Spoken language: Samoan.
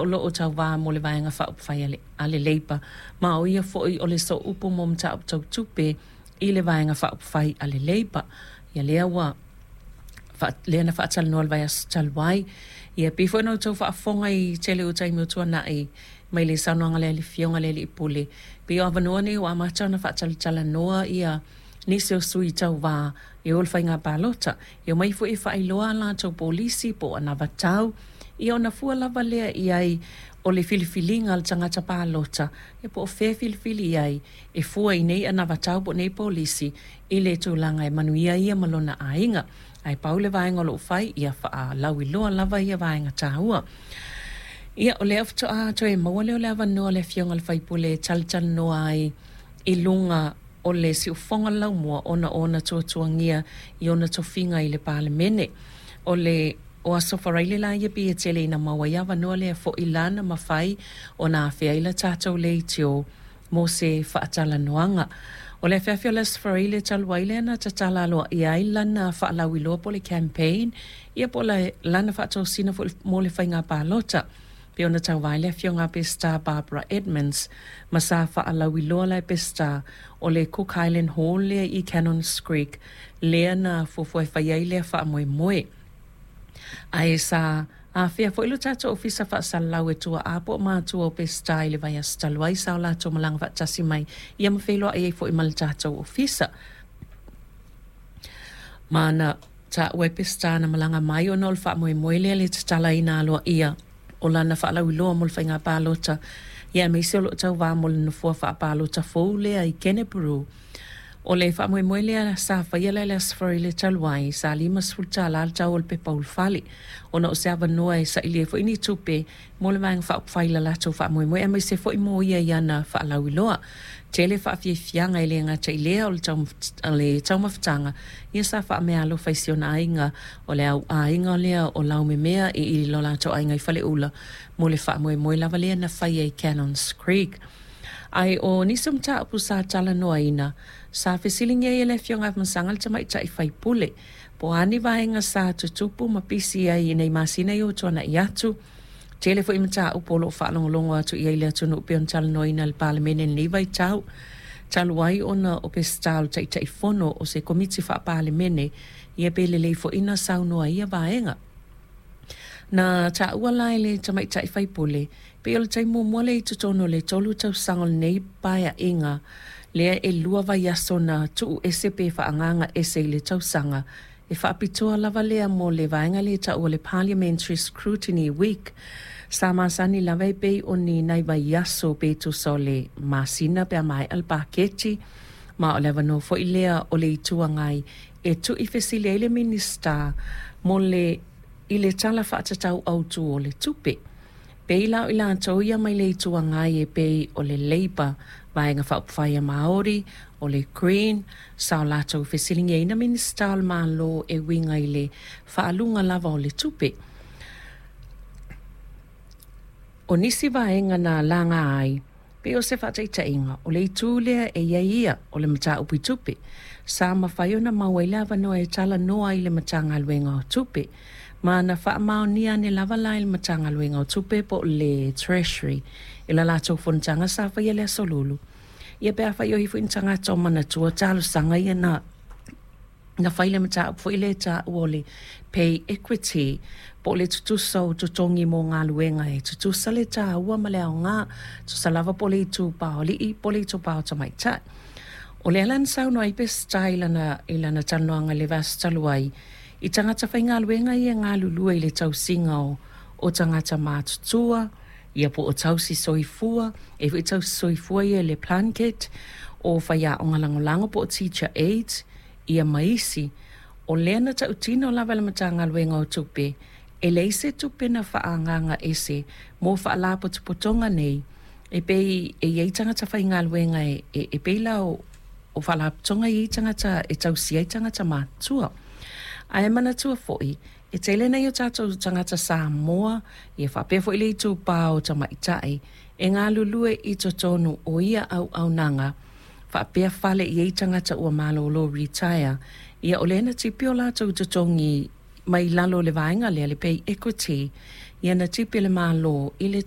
Ia o lo o tauvā mo le Vaega Faaupufai a le Leipa, ma o ia foi o le sooupu mo mataupu tau tupe i le Vaega Faaupufai a le Leipa. Ia lea ua lea na faatalanoa i le vaiaso talu ai. Ia pei foi ona outou faafofoga i tele o taimi ua tuanai mai le saunoaga a le Afioga i le Alii Pule, pei o avanoa nei ua amata ona faatalatalanoa ia nisi o sui tauva e o i le faiga palota. E omai foi e faailoa a latou polisi po o anavatau, ia ona fua lava lea i ai o le filifiliga a le tagata palota, ia po o fea e filifili i ai e fua i nei anavatau po o nei polisi i le tulaga e manuia ai ia ma lona aiga. Ae pau le vaega o lo o fai, ia faalauiloa lava ia vaega taua. Ia, o lea faatoa toe maua lea o le avanoa o le Afioga i le sui usufono e talatalanoa ai i luga o le siufofoga o le laumua ona o ona tuatuagia i ona tofiga i le Palemene. O le o Aso Faraile la ia pei e tele ina maua ai avanoa lea foi la na mafai ona afea ai le tatou leitio mo se faatalanoaga. O le afiafi o le Aso Faraile talu ai lea na tatala aloaia ai lana faalauiloa po o le campaign, ia po o lana faatosina foi mo le faiga palota, pei ona tauva ai le Afioga a Peseta Barbara Edmonds, ma sa faalauiloa la e Peseta o le Cook Island Hall lea i Cannons Creek lea na fuafua e fai ai lea faamoemoe. Ae sa afea foi lo tatou ofisa faasalalau e tuaa po o matua o Peseta i le vaiaso talu ai, sa o latou malaga faatasi mai ia ma feiloai ai foi ma le tatou ofisa. Ma na taua e Peseta na malaga mai ona o le faamoemoe lea le tatalaina aloaia o lana faalauiloa mo le faiga palota, ia aemaise o lo o tauvā mo le nofoa faapalota fou lea i Kenepuru. O le faamoemoe lea sa faia la i le Aso Faraile talu ai, sa $50 le tau o le pepa ulufale, ona o se avanoa e sailia ai foi ni tupe mo le Vaega Faaupufai i le latou faamoemoe, aemaise foi mo ia i ana faalauiloa. Tele faafiafiaga e le gata i lea o le taumafataga, ia sa faameaalofa i si ona aiga, o le au aiga lea o Laumemea i lo latou aiga i Faleula mo le faamoemoe lava lea na faia i Cannons Creek. Ae o nisi o mataupu sa talanoaina, sa fesiligia ai e le Afioga ia Afamasaga le tamaitai faipule, po o a ni vaega sa tutupu ma pisi ai i nei masina i o tuanai atu. Tele foi mataupu o lo o faalogologo atu i ai le atunuu pei ona talanoaina e le Palemene i lenei vaitau, talu ai ona o Peseta o le Taitaifono o se Komiti Faa-Palemene, ia pe lelei foi na saunoa i ia vaega. Na taua la e le tamaitai faipule, pei o le taimi muamua lea i totonu o le 3 tausaga o lenei paeaiga, lea e 2 vaiaso na tuu ese pe faaagaaga ese i le tausaga, e faapitoa lava lea mo le vaega lea e taua o le Parliamentary Scrutiny Week. Sa masani lava e pei o ni nai vaiaso pe tusa o le masina pe a maea le paketi, ma o le avanoa foi lea o le Itu Agai e tuuifesili ai le Minisita mo le i le Tala Faatatau Autu o le Tupe. Pei la o i latou ia mai le Itu Agai e pei o le Labour, Vaega Faaupufai a Māori, o le Green, sa o latou fesiligiaina Minisita o le Malo e uiga i le faaluga lava o le tupe. O nisi vaega na laga ai, pei o se faataitaiga, o le itu lea e i ai ia o le mataupu i tupe, sa mafai ona maua ai le avanoa e talanoa ai i le Matagaluega o Tupe, ma na faamaonia ane lava la e le Matagaluega o Tupe po o le Treasury i la latou fonotaga sa faia i le Aso Lulu. Ia pe afai o i ai foi ni tagata o manatua talosaga ia na fai le mataupu foi lea e taua o le pay equity po o le tutusa o totogi mo galuega e tutusa le taua ma le aoga, tusa lava po o le itupa o alii po o le itupa o tamaitai. O lea la na saunoa ai Peseta i lana talanoaga i le vaiaso talu ai i tagata faigaluega ia e galulue i le tausiga o tagata matutua, ia po o tausi soifua, e foi tausi soifua ia i le Plunket, o faiaoga lagolago po o teacher aides, ia ma isi. O lea na tautino lava e le Matagaluega o Tupe, e leai se tupe na faaagaaga ese mo faalapotopotoga nei, e pei e i ai tagata faigaluega e pei la o faalapotopotoga e i ai tagata e tausia ai tagata matutua. Ae manatua foi, e tele nai o tatou tagata Samoa, ia faapea foi le itupa o tamaitai, e galulue i totonu o ia auaunaga, faapea fale i ai tagata ua malolo retire, ia o lea na tipi o latou totogi mai lalo o le vaega lea, le pay equity, ia na tipi e le Malo i le